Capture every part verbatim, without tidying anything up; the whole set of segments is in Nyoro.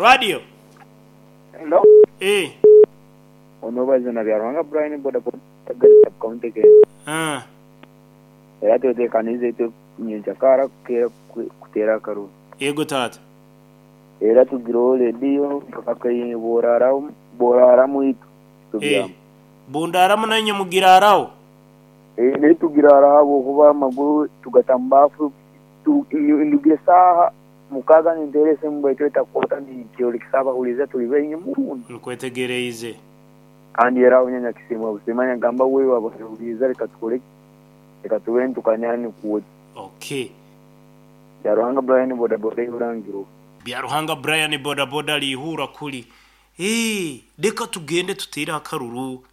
Radio. Hello. Eh. Onobaza na Byaruhanga Brian boda boda county ke. Ah. Era twetekanize itwe nyenkyakara kutera akaruru. Yego tata. Era tugireho rediyo mpaka boraramu boraramu itwe. Eh. Bundaramu nanye mugiraraho. Eh ne tugirara habwokuba amaguru tugatambafu ndugira saaha mukaga ninterese mbaitu etakwata nikyolekisa abahuliza tuli baingi muno. Nkwetegereize. Kandi era aho nyanya kisimwa busimanya gamba wewe abahuliza reka tukore reka tube ntukanyani kuwe. Okay. Byaruhanga Brian boda boda Iburangiro. Byaruhanga Brian boda boda lihura kuli. Eh, reka tugende tutere akaruru.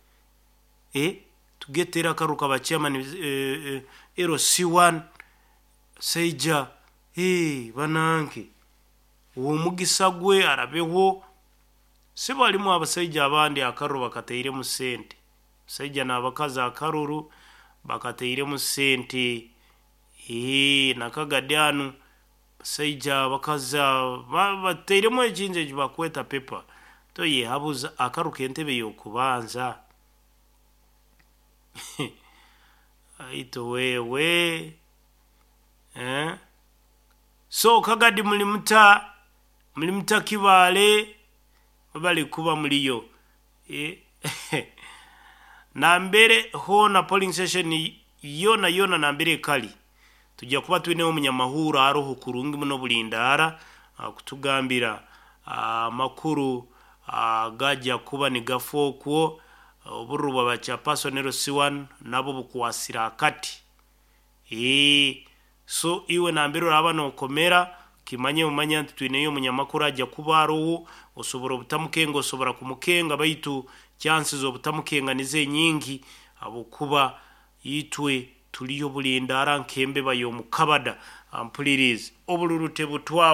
Eh, tugetera akaruru kaba chairman eh, eh, L C one Seija. Eh, bananke. Uwo mugisa gwe arabeho. Sibo alimu abasaija abandi akaruru bakateire mu sente. Saija n'abakazi akaruru bakateire mu sente. Eh, nakagadyanu basaija abakazi bateiremu ekintu eki bakweta pepa. Toyehabuza akaruka entebe y'okubanza. Aito wewe. Eh? So kagadi mulimuta mulimuta Kibaale bali kuba muliyo. Eh. Nambere hona polling station yona yona nambere kali. Tujja kuba tuineho omunyamahura aroho kurungi muno bulindara kutugambira amakuru gajja kuba nigafookwo obururu bwa chairperson L C one nabo bukwasira akati. Eh, so iwe nambere oraba nokomera kimanye umanya nti tuineyo omunyamakuru ajja kuba aroho osobora obutamukenga osobora kumukenga baitu chances obutamukenga nize nyingi abokuba itwe tuliyo bulindara nkembe bayo mukabada ampulirize obuluru tebutwa.